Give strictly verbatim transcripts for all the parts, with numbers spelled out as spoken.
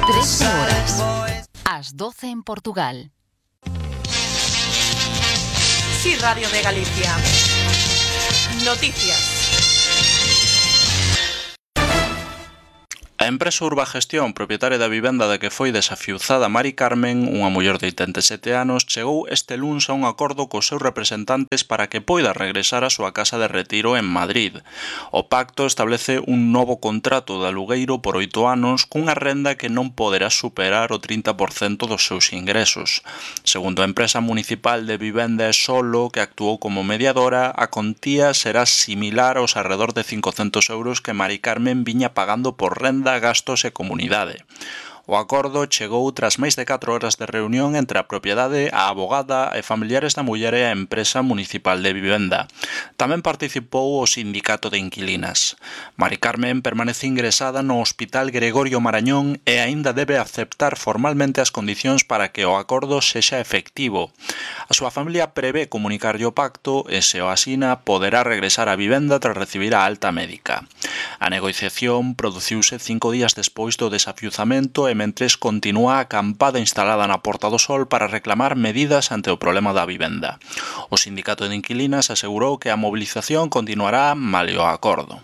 trece horas. As doce en Portugal. Sí, Radio de Galicia. Noticias. A empresa Urbagestión, propietaria da vivenda da que foi desafiuzada Mari Carmen, unha muller de oitenta e sete anos, chegou este luns a un acordo cos seus representantes para que poida regresar á súa casa de retiro en Madrid. O pacto establece un novo contrato de alugueiro por oito anos cunha renda que non poderá superar o trinta por cento dos seus ingresos. Segundo a empresa municipal de vivenda e solo, que actuou como mediadora, a contía será similar aos arredor de cincocentos euros que Mari Carmen viña pagando por renda, gastos e comunidade. O acordo chegou tras máis de catro horas de reunión entre a propiedade, a abogada e familiares da muller e a empresa municipal de vivenda. Tamén participou o sindicato de inquilinas. Mari Carmen permanece ingresada no Hospital Gregorio Marañón e aínda debe aceptar formalmente as condicións para que o acordo sexa efectivo. A súa familia prevé comunicarlle o pacto e, se o asina, poderá regresar á vivenda tras recibir a alta médica. A negociación produciuse cinco días despois do desafiuzamento e mentres continúa a acampada instalada na Porta do Sol para reclamar medidas ante o problema da vivenda. O sindicato de inquilinas asegurou que a mobilización continuará malia o acordo.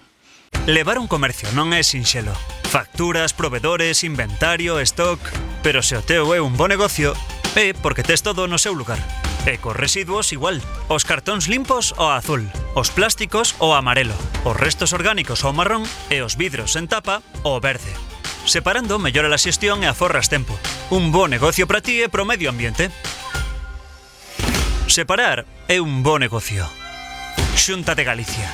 Levar un comercio non é sinxelo. Facturas, provedores, inventario, stock... Pero se o teu é un bo negocio, é porque tes todo no seu lugar. E cos residuos igual. Os cartóns limpos ao azul, os plásticos ao amarelo, os restos orgánicos ao marrón e os vidros en tapa ao verde. Separando mellora a xestión e aforras tempo. Un bo negocio para ti e pro medio ambiente. Separar é un bo negocio. Xunta de Galicia.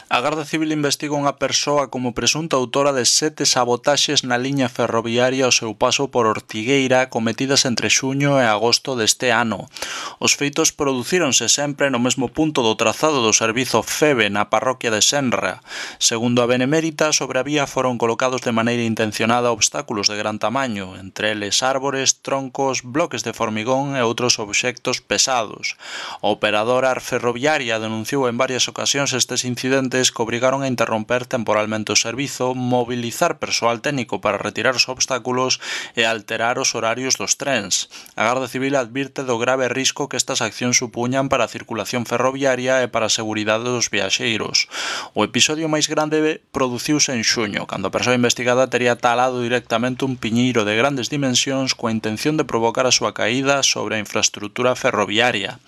A Garda Civil investiga unha persoa como presunta autora de sete sabotaxes na liña ferroviaria ao seu paso por Ortigueira cometidas entre xuño e agosto deste ano. Os feitos producíronse sempre no mesmo punto do trazado do servizo FEBE na parroquia de Senra. Segundo a Benemérita, sobre a vía foron colocados de maneira intencionada obstáculos de gran tamaño, entre eles árbores, troncos, bloques de formigón e outros obxectos pesados. A operadora ferroviaria denunciou en varias ocasións estes incidentes que obrigaron a interromper temporalmente o servizo, mobilizar persoal técnico para retirar os obstáculos e alterar os horarios dos trens. A Garda Civil advirte do grave risco que estas accións supuñan para a circulación ferroviaria e para a seguridade dos viaxeiros. O episodio máis grande produciuse en xuño, cando a persoa investigada tería talado directamente un piñeiro de grandes dimensións coa intención de provocar a súa caída sobre a infraestrutura ferroviaria.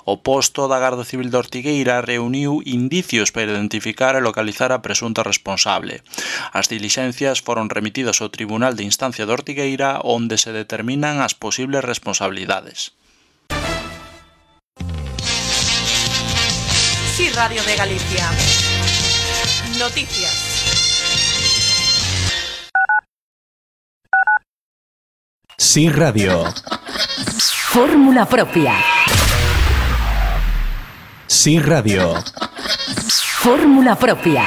O posto da Garda Civil de Ortigueira reuniu indicios para identificar e localizar a presunta responsable. As dilixencias foron remitidas ao Tribunal de Instancia de Ortigueira, onde se determinan as posibles responsabilidades. Sí, Radio de Galicia. Noticias. Sí, Radio. Fórmula propia. Sí, Radio. Fórmula propia.